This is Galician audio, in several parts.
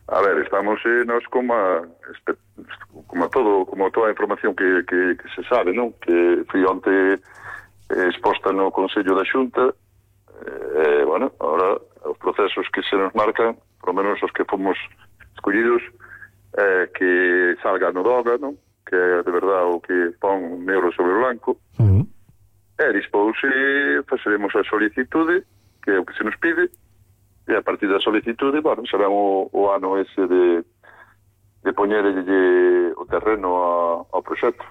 A ver, estamos nós como toda a información que se sabe, non? Que foi onte exposta no Consello da Xunta. Bueno, ahora os procesos que se nos marcan, por lo menos os que fomos escollidos, que salga no DOGA, non? Que é de verdade o que pon negro sobre blanco. E despois faceremos a solicitude, que é o que se nos pide, e a partir da solicitude, bueno, será o ano ese de poñerlle o terreno ao proxecto.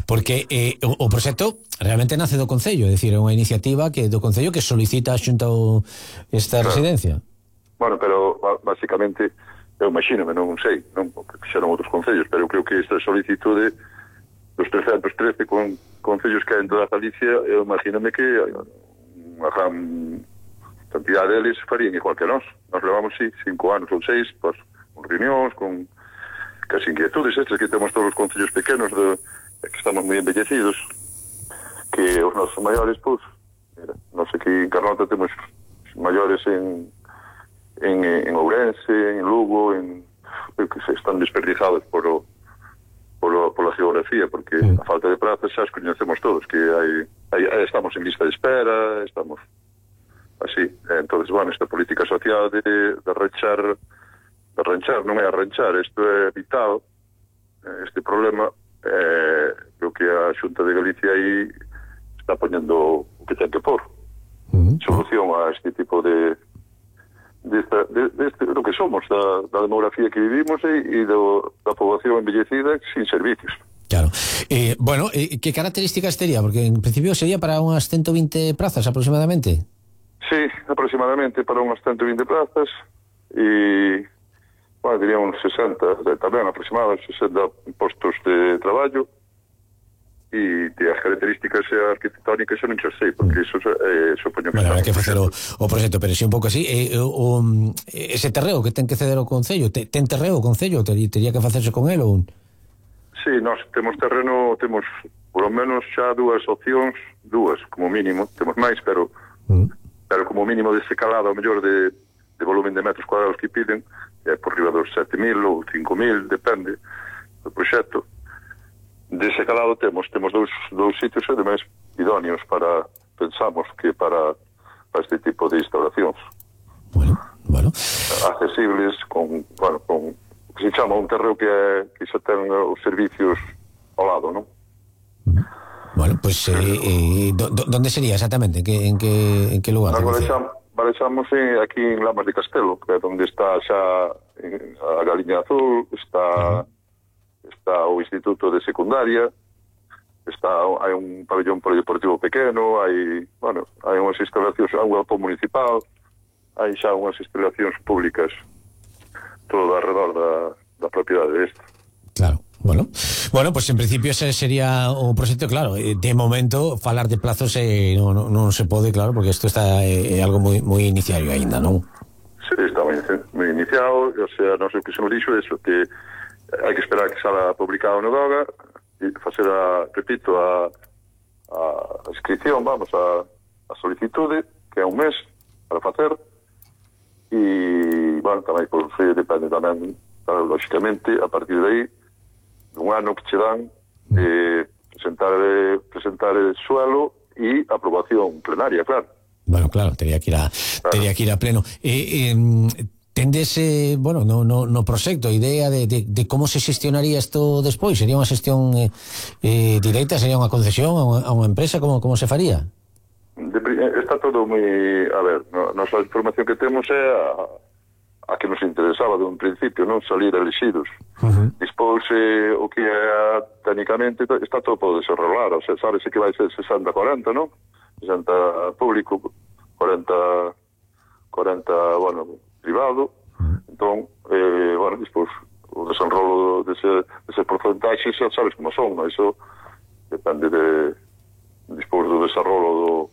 Porque o proxecto realmente nace do Concello, é dicir, é unha iniciativa que do Concello que solicita a Xunta esta residencia. Bueno, pero basicamente, eu imagínome, non sei, non, porque fixeron outros concellos, pero eu creo que esta solicitude dos 313 concellos que hai en toda Galicia, eu imagínome que unha gran cantidad deles farían igual que nós. Nós levamos, 5 anos ou 6, pues, con reunións, con as inquietudes estas que temos todos os concellos pequenos, que estamos moi embellecidos, que os nosos maiores, pues, mira, non sei que en Carnota temos maiores en Ourense, en Lugo, que se están desperdizados pola geografía, porque a falta de prazas xa as coñecemos todos, que estamos en lista de espera, estamos así. Entonces, bueno, esta política social de arranchar, non é arranchar, isto é vital, este problema, creo que a Xunta de Galicia aí está poñendo o que ten que pôr solución a este tipo de lo que somos, da demografía que vivimos e da poboación envellecida sin servicios. Claro. Bueno, que características tería? Porque en principio sería para unhas 120 prazas aproximadamente. Sí, aproximadamente para unhas 120 plazas e, bueno, diría uns 60, tamén aproximadamente 60 postos de traballo, e as características arquitectónicas xa non xa sei, porque eso supoño que... Bueno, hai que facer o proxecto, pero si un pouco así, ese terreo que ten que ceder ao Concello, ten terreo o Concello, tería que facerse con el ou... Sí, nós temos terreno, temos por lo menos xa dúas opcións, como mínimo, temos máis, pero como mínimo dese calado, ao mellor de volumen de metros cuadrados que piden, por riba dos 7.000 ou 5.000, depende do proxecto. Dese calado temos dous sitios ademais idóneos pensamos que para este tipo de instalacións. Bueno. Accesibles, con que se chama un terreo que xa ten os servicios ao lado, non? Bueno, pues ¿dónde sería exactamente? ¿En qué lugar? Barexamos aquí en Lamas de Castelo, que é onde está xa a Galiña Azul, está o Instituto de Secundaria, hai un pabellón polideportivo pequeno, hai unhas instalacións, hai un galpón municipal, hai xa unhas instalacións públicas todo alrededor da propiedade desta. Claro. Bueno, pues en principio ese sería o proxecto, claro. De momento falar de plazos non se pode, claro, porque isto está algo moi iniciario aínda, non? Sí, está moi iniciado, o sea, non sei o que se nos dixo eso, que hai que esperar que salga publicado no DOGA e facer a inscripción, a solicitude, que é un mes para facer, e, bueno, tamén por depende tamén, lógicamente, a partir de aí, un ano que che dan presentar el suelo e aprobación plenaria, claro. Bueno, claro, tería que ir a pleno. Tendes, no proxecto, idea de como se xestionaría isto despois? Sería unha xestión directa? Sería unha concesión a unha empresa? Como se faría? Está todo moi... A ver, nosa información que temos é a que nos interesaba de un principio, non salir elegidos. Despois, o que é técnicamente, está todo por desenrolar, o sea, sabes que vai ser 60-40, non? 60 público, 40, privado. Entón, despois, o desenrolo dese porcentaxe, xa sabes como son, non? Iso depende despois do desenrolo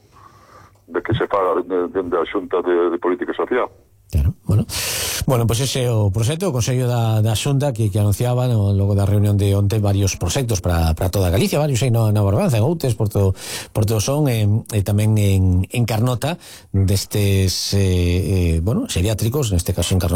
de que se faga dende a Xunta de Política Social. Claro, bueno, pois ese é o proxecto, o Consello da Xunta que anunciaba logo da reunión de onte varios proxectos para toda Galicia, varios aí na Barbanza, en Outes, Porto Son e tamén en Carnota destes, xeriátricos, neste caso en Carnota